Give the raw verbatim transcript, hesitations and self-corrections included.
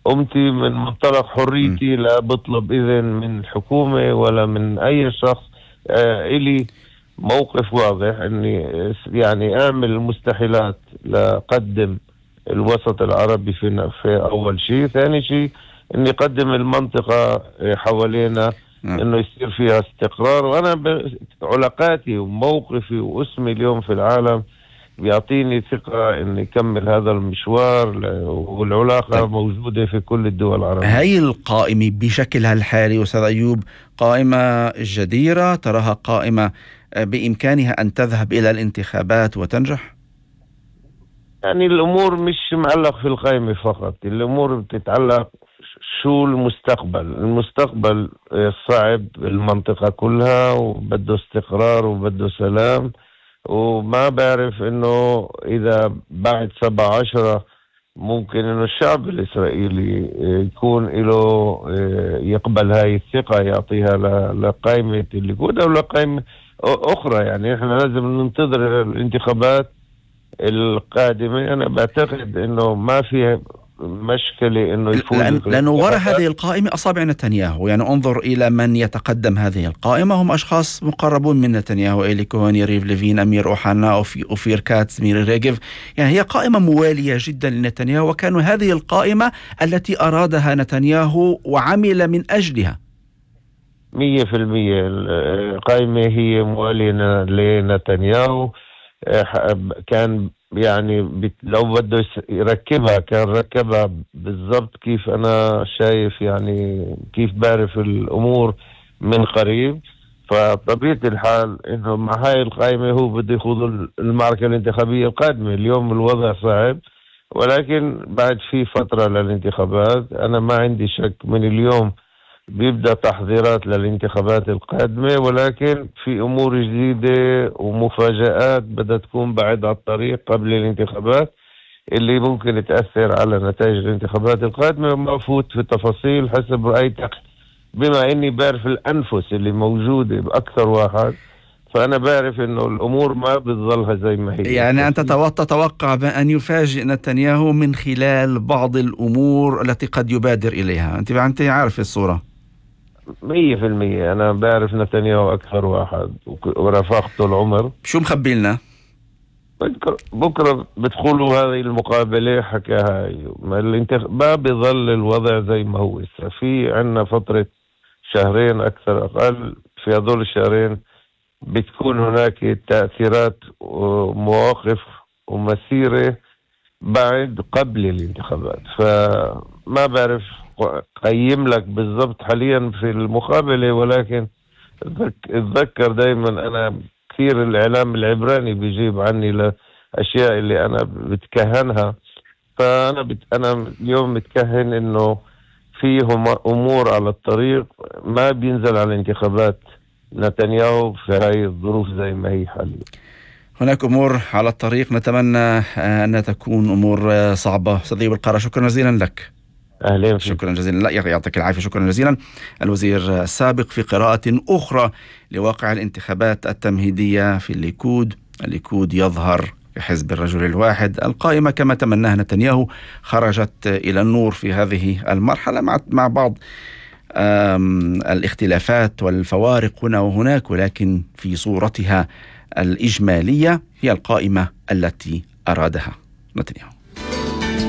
قمتي من منطلق حريتي، لا بطلب إذن من الحكومة ولا من أي شخص. آه إلي موقف واضح إني يعني أعمل المستحيلات لقدم الوسط العربي في, في أول شيء. ثاني شيء إني أقدم المنطقة حوالينا إنه يصير فيها استقرار. وأنا علاقاتي وموقفي واسمي اليوم في العالم بيعطيني ثقة إني أكمل هذا المشوار، والعلاقة طيب. موجودة في كل الدول العربية. هاي القائمة بشكلها الحالي أستاذ أيوب قائمة جديرة؟ تراها قائمة بإمكانها أن تذهب إلى الانتخابات وتنجح؟ يعني الأمور مش معلق في القائمة فقط، الأمور بتتعلق شو المستقبل. المستقبل صعب المنطقة كلها، وبده استقرار وبده سلام. وما بعرف انه اذا بعد سبعة عشرة ممكن انه الشعب الاسرائيلي يكون له يقبل هاي الثقة يعطيها لقائمة الليكود او لقائمة اخرى. يعني احنا لازم ننتظر الانتخابات القادمة. انا بعتقد انه ما فيها مشكلة انه يفوز، لأن لانه وراء هذه القائمة اصابع نتنياهو. يعني انظر الى من يتقدم هذه القائمة، هم اشخاص مقربون من نتنياهو: إيلي كوهن، يريف ليفين، امير اوحانا، اوفير كاتس، ميري ريغيف. يعني هي قائمة موالية جدا لنتنياهو، وكانوا هذه القائمة التي ارادها نتنياهو وعمل من اجلها. مية في المية القائمة هي موالية لنتنياهو. كان يعني لو بده يركبها كان ركبها بالضبط كيف أنا شايف، يعني كيف بعرف الأمور من قريب. فطبيعة الحال إنه مع هاي القائمة هو بده يخوض المعركة الانتخابية القادمة. اليوم الوضع صعب، ولكن بعد في فترة للانتخابات. أنا ما عندي شك من اليوم بيبدأ تحضيرات للانتخابات القادمة، ولكن في أمور جديدة ومفاجآت بدها تكون بعد على الطريق قبل الانتخابات اللي ممكن تأثر على نتائج الانتخابات القادمة. وما أفوت في التفاصيل حسب رأيتك، بما أني بعرف الأنفس اللي موجودة بأكثر واحد، فأنا بعرف أنه الأمور ما بتظلها زي ما هي. يعني أنت تتوقع بأن يفاجئ نتنياهو من خلال بعض الأمور التي قد يبادر إليها؟ أنت أنت عارف الصورة. مية في المية أنا بعرف نتنياهو أكثر واحد ورفاقته العمر. شو مخبي لنا؟ بكرة بدخلوا هذه المقابلة حكاها ما بيظل الوضع زي ما هو. في عنا فترة شهرين أكثر أقل، في هذول الشهرين بتكون هناك تأثيرات ومواقف ومسيرة بعد قبل الانتخابات. فما بعرف قيم لك بالضبط حاليا في المقابلة، ولكن اتذكر دايما أنا كثير الإعلام العبراني بيجيب عني لأشياء اللي أنا بتكهنها. فأنا بت... أنا اليوم متكهن إنه فيهم أمور على الطريق ما بينزل على الانتخابات نتنياهو في هاي الظروف زي ما هي حاليا. هناك أمور على الطريق نتمنى أن تكون أمور صعبة. أستاذ أيوب القارة، شكرا جزيلا لك. أهلا. شكرا جزيلا. لا يعطيك العافية. شكرا جزيلا. الوزير السابق في قراءة أخرى لواقع الانتخابات التمهيدية في الليكود. الليكود يظهر كحزب الرجل الواحد. القائمة كما تمناها نتنياهو خرجت إلى النور في هذه المرحلة مع مع بعض الاختلافات والفوارق هنا وهناك، ولكن في صورتها الإجمالية هي القائمة التي أرادها نتنياهو.